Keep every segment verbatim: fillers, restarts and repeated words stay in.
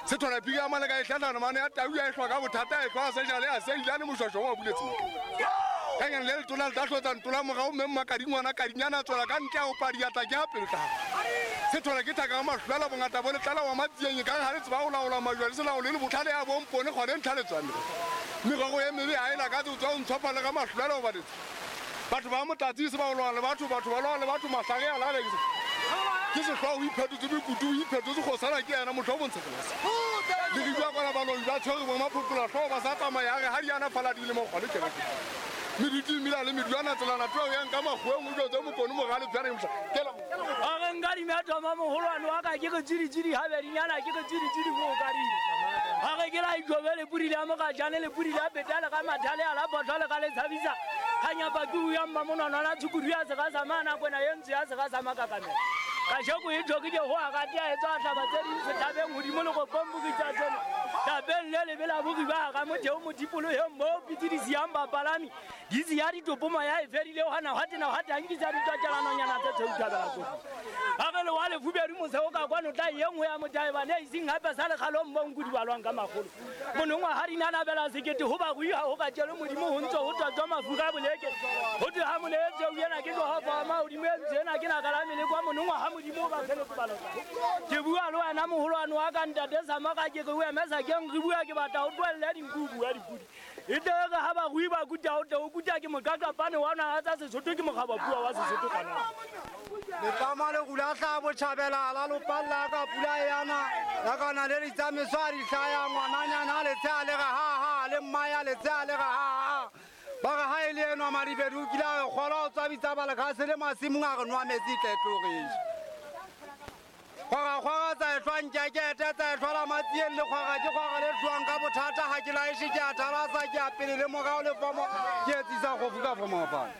Se thola pika mane ka e hlahlana mane ya tau ya e hlwa ka bothata e hlwa se jale a se ilane moshwasho wa buletse. Ka nyane le letona le tla hlotsa ntola morao mme mmakadingwana kadinyana a tswela ka ntle a opa diatla ke a pelo tla. Se thola ke thaka ka mahlwela bongata bo letlala wa matsieng e kang ha le tseba ho laola majwa le se laole le botlhale ya bompone gone ntlha le tswane. Merogo e mebe ha e lakatse o tswa o ntshopha le ka mahlwela hoba batho ba motlatsi se ba o lwana le batho batho ba lwana le batho mahlare a lale ke sehlwa o iphetotse mekutu o iphetotse kgosana ke yena motho o bontsha tlase le re bua kwana baloi ba tshwere bo maphokola hlooho ba sa tsamaya re ha di ana fala di le mo kgone kereke meduti mila le meduana tselana tlo yang ka makgoeng o jwetse mokone mogale tsana mosha kela a re nka dimetho ma mogolwane wa ka ke re tsiri-tsiri habedinyana ke re tsiri-tsiri go ka dile a re ke la ijobele pudi le mogajane le pudi le betale ka mathale a la botlho le ka le tshabisa kganyapa ke o ya mmamonwana la tshukudu ya se ga sa mana kwena ye ntse ya se ga sa makakamela ka sheko e tlhokile go a ka tea e tswa hlaba tse ding sethabeng godimo le go pombokitsa tseno tabeng le lebe la bogi ba ga motheo modipologeng mo pitse di siang bapalami di sia ditopoma ya e fedile gana gwa tena gwa tankisa ditwatšelanonyana tse tshweuthabela tsogo ga ge le wa lefubedu moseo ka kwano tla ye nngwe ya motaebane e iseng gape sa lekgalong mo nku di balwang ka magolo monongwa ga dinanabela sekete go ba go iga go ka tšele modimo go ntse go tswatswa mafura boleke go twe ga moleetseu ena ke tloga fa magodimo e ntse ena ke naka la mele kwa monongwa ga modimo ba feletse ba lotsa ke bua le wena mogolwane wa ka ntate Sama ka ke re o emesa keng re bua ke batla o tlohelle dinku o bua dipudi e tle re ha barui ba kuta o tle o kuta ke moqaqapane wa naha tsa Sesotho ke mokgabapua wa Sesotho kana letlama le rula tla botjhabela la lopalla ka pula yana ya kana le ditsamaiso a di hlaya ngwananyana le tsea le re ha ha le mmaya le tsea le re ha ha ba re ha e le enwa Madibedu o kile a re kgolwa o tswabitsa balekgase le masimong a re nwa metsi tle tlogeše kgwara kgwara tsa ehlwa nkekete tsa ehlwa la matsieng le kgwara ke kgwara le hlwang ka bothata ha ke laeshe ke a thalasa ke a pele le morao le fomo ke etsisa kgofu ka fomo mafane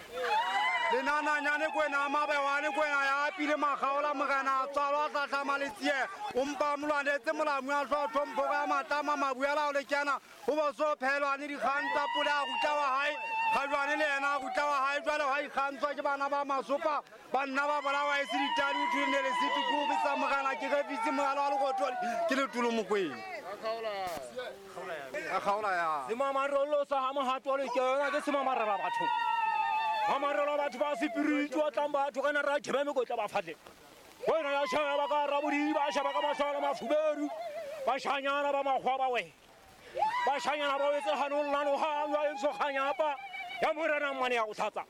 lenananyane kwena mabewane kwena ya pile makgaola morena a tswalwa hlahlama le tsie o mpa molwanetse molamu a hlwa tlhompho ya matlama mabuela o le kena o bo so phelwane dikgang tsa pula a rutla wa hae ga jwane le yena a rutla wa hae jwale wa ikgantswa ke bana ba masopa banna ba bolawa e se ditadi o thulene le setukubi sa morena ke refitse mogala wa lekothodi ke letulo mokweng a kgaola ya semamarolo sa ga mogato le ke yona ke semamarela batho mamarelo batho ba sepiriti wa tlang batho kana ra khebe mekotla ba fatle wena ya shaba ka rabodi ba shaba ka masala mafuberu ba shanyana ba magwa ba we ba shanyana ba wetse hanong lano ha wa entso khanyapa ya morena mmane ya go tlhatsa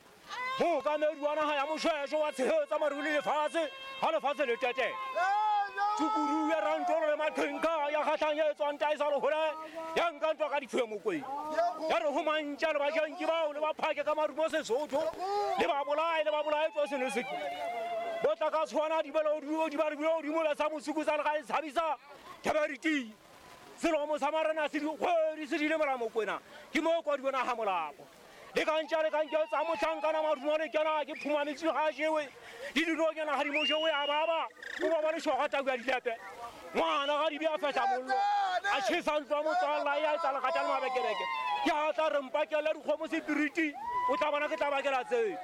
mo ka meduana ha ya moshwesho wa tshehetsa maruli lefatshe ha lefatshe le tete tsukuru ya rantolo le maqhenka ya kgatlhang ya etswang taisa le hole ya nka ntwa ka difuwe mokweng ya re ho mantša le bajanki bao le ba phake ka marumo Sesotho le ba bolae le ba bolae tswa seno se bo tla ka tshwana dibelo di ba di ba sa mosuku sa le ga e tshabisa keberiti selomo sa marena se dikgwedi se dile mora mokwena ke mo kwa di bona ha molapo le ka ntša le ka ntša tsa mohlankana marumo le kena ke phuma metsi ga jewe di dinonyana ga di mo jewe a baba o ba ba le shoga tau ya dilepe ngwana ga di be a fehla mollo a tjhesa ntlo ya motswalla ya etsa lekgata le mabekereke ke ha tla re mpakela dikgomo sepiriti o tla bona ke tla bakela tseo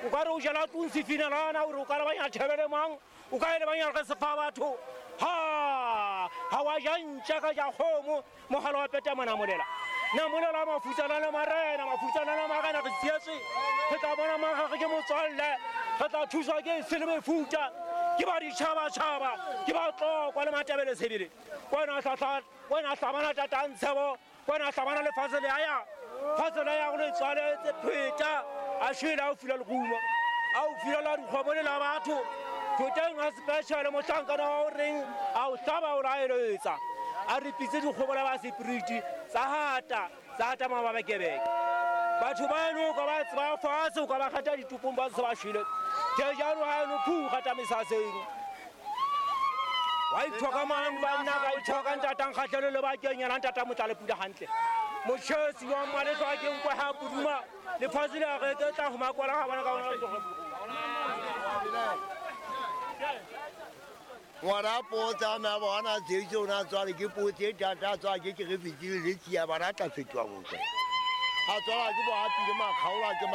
o ka re o jela tlong sefinelana ore o ka lebanya thebele mang o ka e lebanya re sefa batho ha ha wa ja ntša ka ja kgomo mogala wa peta monamolela namolela mafutsana le marena mafutsana le marena re tsietswe re tla bona magage ke motswalle re tla thuswa ke se le mefuta ke ba ditšhabatšhaba ke ba tlokwa le matabele sebele wena hlahla wena hlabana tatantshebo wena hlabana lefatshe le aya fatshe le ya go le tswaletse pheta a shwele a o fila lerumo a o fila la dikgomo le la batho thoteng a special mohlankana wa o reng a o hlaba o laeletsa a re pitse dikgomo la ba sepiriti tsa hata tsa hata mababekebeke batho ba eno ka ba tseba fatshe o ka ba kgata ditopong ba se ba shwele ke jalo ha eno phu kgata mesaseng wa ithoka mang banna ka ithoka ntatang kgatlhelo le bakeng yena ntata motla le pula hantle motjhesi wa mmaletswa ke nkwe ha puduma lefatshe le re ke tla ho makwala ga bona ka bona ngwana potsa na bona tse o na tswale ke potse tata tswa ke ke re fitile le tsia bana tla fetoha mokwe a tswala ke bo apile makgaola ke